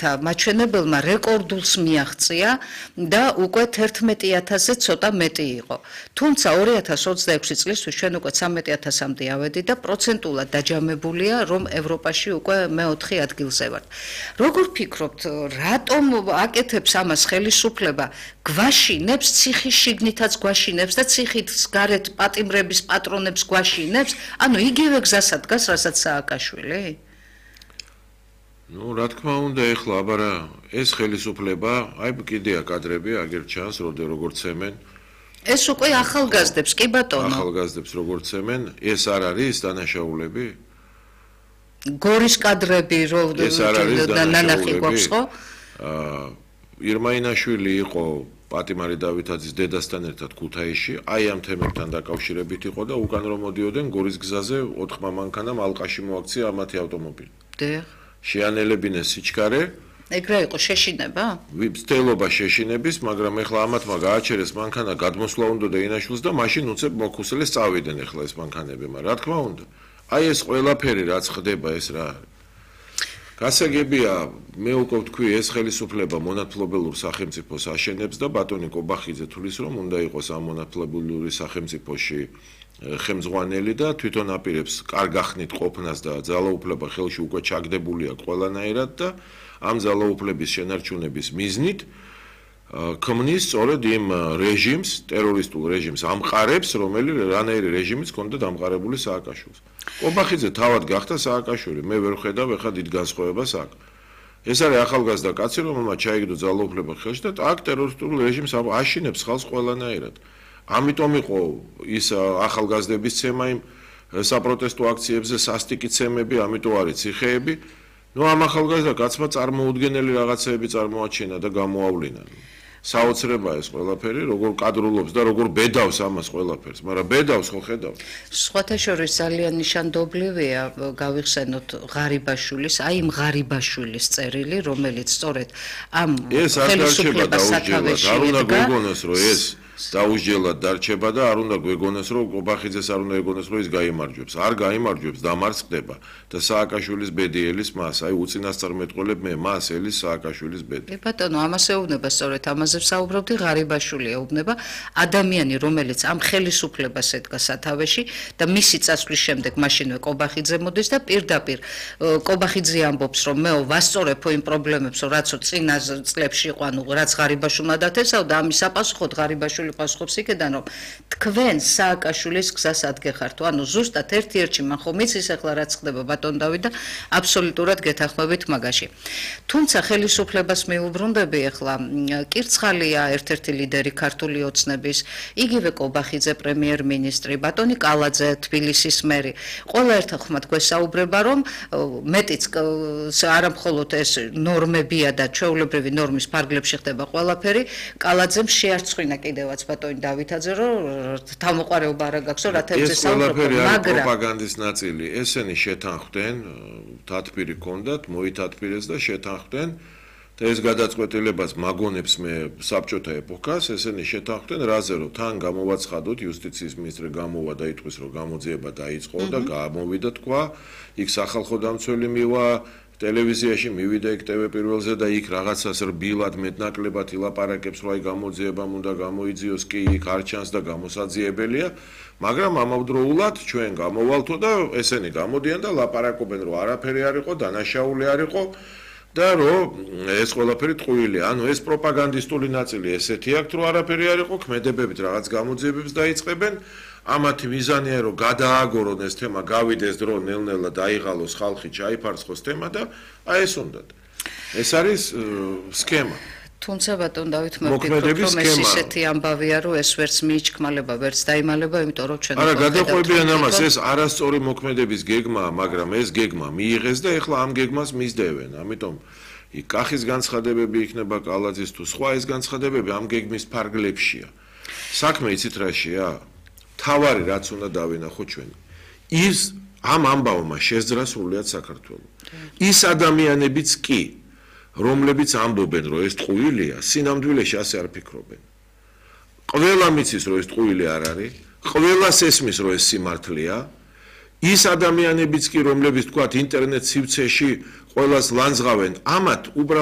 მათგანთა მაჩვენებელმა რეკორდულს მიაღწია და უკვე 11,000-ზე ცოტა მეტი იყო. თუმცა 2026 წლისთვის ჩვენ უკვე 13,000-მდე ავედით და პროცენტულად დაჯამებულია, რომ ევროპაში უკვე მე-4 ადგილზე ვართ. როგორ ფიქრობთ, რატომ აკეთებს ამას ხელისუფლება? გვაშინებს, ციხის შიგნითაც გვაშინებს და ციხით გარეთ პატიმრების პატრონებს გვაშინებს? ანუ იგივე გზასა დგას, რასაც სააკაშვილი? Ну, რა თქმა უნდა, ეხლა აბარა ეს ხელისუფლება, აი კიდეა კადრები, აგერ ჩანს, როგორც ცემენ. ეს უკვე ახალგაზრდებს, კი ბატონო. ახალგაზრდებს როგორც ცემენ, ეს არ არის დანაშაულები? გორის კადრები და ნანახი გვაქვს ხო? ირმაინაშვილი იყო პატიმარი დავითაძის დედასთან ერთად ქუთაისში, აი ამ თემებთან დაკავშირებით იყო და უკან რომ მოდიოდნენ გორის გზაზე 4 მანქანამ ალყაში მოაქცია ამათი ავტომობილი. დიახ. შეანელებინეს სიჩქარე. ეგრე იყო შეშინება? ვიბსტელობა შეშინების, მაგრამ ეხლა ამათმა გააჩერეს მანქანა, გადმოსვლა უნდა და ინაშვილს და მაშინ უცებ მოხუსელეს წავიდნენ ეხლა ეს მანქანები, მაგრამ რა თქმა უნდა, აი ეს ყველაფერი რაც ხდება ეს რა არის. გასაგებია, მე უკვე ვთქვი, ეს ხელისუფლება მონათმფლობელურ სახელმწიფოს აშენებს და ბატონი კობახიძე თulis რომ უნდა იყოს ამ მონათმფლობელური სახელმწიფოში ხელმძღვანელი და თვითონ აპირებს კარგ ახნით ყოფნას და ძალაუფლება ხელში უკვე ჩაგდებული აქვს ყველანაირად და ამ ძალაუფლების შენარჩუნების მიზნით ქმნის სწორედ იმ რეჟიმს, ტერორისტულ რეჟიმს ამყარებს, რომელიც რანაირი რეჟიმიც ჰქონდა დამყარებული სააკაშვილს. კობახიძე თავად გახდა სააკაშვილი, მე ვერ ხედავ ეხლა დიდ განსხვავებას აქ. ეს არის ახალგაზრდა კაცი, რომელმაც ჩაიგდო ძალაუფლება ხელში და აქ ტერორისტულ რეჟიმს აშინებს ხალხს ყველანაირად. ამიტომ იყო ის ახალგაზრდების ცემა იმ საპროტესტო აქციებზე, სასტიკი ცემები, ამიტომ არის ციხეები. ნუ ამ ახალგაზრდა კაცმა წარმოუდგენელი რაღაცეები წარმოაჩინა და გამოავლინა. საოცრებაა ეს ყველაფერი, როგორ კადრულობს და როგორ ბედავს ამას ყველაფერს, მაგრამ ბედავს ხო ხედავთ? სხვათა შორის ძალიან ნიშანდობლივია გავიხსენოთ ღარიბაშვილის, აი იმ ღარიბაშვილის წერილი, რომელიც სწორედ ამ ხელისუფლებას სათავეში არ უნდა გვეგონოს, რომ ეს დაუსჯელად დარჩება და არ უნდა გვეგონოს, რომ კობახიძეს არ უნდა ეგონოს, რომ ის გაიმარჯვებს. არ გაიმარჯვებს, დამარცხდება და სააკაშვილის ბედი ელის მას, აი უწინასწარმეტყველებ მე მას ელის სააკაშვილის ბედი. ბატონო, ამას ეუბნება სწორედ ამაზე ვსაუბრობდი, ღარიბაშვილი ეუბნება ადამიანი, რომელიც ამ ხელისუფლებას ედგა სათავეში და მისი წასვლის შემდეგ მაშინვე კობახიძე მოდის და პირდაპირ კობახიძე ამბობს, რომ მეო ვასწორებ იმ პრობლემებს, რაც წინა წლებში იყო, ანუ რაც ღარიბაშვილმა დათესავდა, ამის საპასუხოდ ღარიბაშვილი პასუხობს იქიდან, რომ თქვენ სააკაშვილის გზას ადგეხართ. ანუ ზუსტად ერთ-ერთი მან ხომ იცის ახლა რაც ხდება ბატონ დავით და აბსოლუტურად გეთანხმებით მაგაში. თუმცა ხელისუფლებას მიუბრუნდები ახლა კირცხალია ერთ-ერთი ლიდერი ქართული ოცნების, იგივე კობახიძე პრემიერ-მინისტრი, ბატონი კალაძე თბილისის მერი. ყველა ერთხელ ხმად გვესაუბრება, რომ მეტიც არა მხოლოდ ეს ნორმებია და ჩვეულებრივი ნორმის ფარგლებში ხდება ყველაფერი, კალაძემ შეარწყვინა კიდევაც ბატონი დავითაძე, რომ თავმოყარეობა არ გაქვს, რა თემზე საუბრობ, მაგრამ პროპაგანდის ნაწილი, ესენი შეთანხმდნენ, თათბირი ჰქონდათ, მოითათბირეს და შეთანხმდნენ და ეს გადაწყვეტილებას მაგონებს მე საბჭოთა ეპოქას, ესენი შეთანხმდნენ რაზე, რომ თან გამოვაცხადოთ, იუსტიციის მინისტრი გამოვა და იტყვის, რომ გამოძიება დაიწყო და გამოვიდა თქვა, იქ სახალხო დამცველი მივა ტელევიზიაში მივიდა იქ TV პირველზე და იქ რაღაცას რბილად მეტნაკლებად ილაპარაკებს, რომ აი გამოძიებამ უნდა გამოიძიოს, კი იქ არ ჩანს და გამოსაძიებელია, მაგრამ ამავდროულად ჩვენ გამოვალთო და ესენი გამოდიან და ლაპარაკობენ, რომ არაფერი არ იყო, დანაშაული არ იყო და რომ ეს ყველაფერი ტყუილია. ანუ ეს პროპაგანდისტული ნაწილი ესეთი აქვს, რომ არაფერი არ იყო, ქმედებებით რაღაც გამოძიებებს დაიწყებენ. ამათი მიზანია, რომ გადააგორონ ეს თემა, გავიდეს დრო ნელ-ნელა დაიღალოს ხალხი, ჩაიფარცხოს თემა და აი ეს უნდათ. ეს არის სქემა. თუმცა ბატონ დავით მე ვფიქრობ, რომ ეს ისეთი ამბავია, რომ ეს ვერც მიიჩქმალება, ვერც დაიმალება, იმიტომ რომ ჩვენ არა გადაყვებიან ამას, ეს არასწორი მოქმედების გეგმაა, მაგრამ ეს გეგმა მიიღეს და ეხლა ამ გეგმას მისდევენ. ამიტომ იქ კახის განცხადებები იქნება კალაძის თუ სხვა ეს განცხადებები ამ გეგმის ფარგლებშია. საქმე იცით რაშია? თავარი რაც უნდა დავინახოთ ჩვენ. ის ამ ამბავმა შეძრა სრულიად საქართველოს. ის ადამიანებიც კი, რომლებიც ამბობენ, რომ ეს ტყუილია, სინამდვილეში ასე არ ფიქრობენ. ყველა მიცის, რომ ეს ტყუილი არ არის, ყველას ესმის, რომ ეს სიმართლეა. ის ადამიანებიც კი, რომლებიც თქვათ ინტერნეტ სივრცეში ყველას ლანძღავენ, ამათ უბრალოდ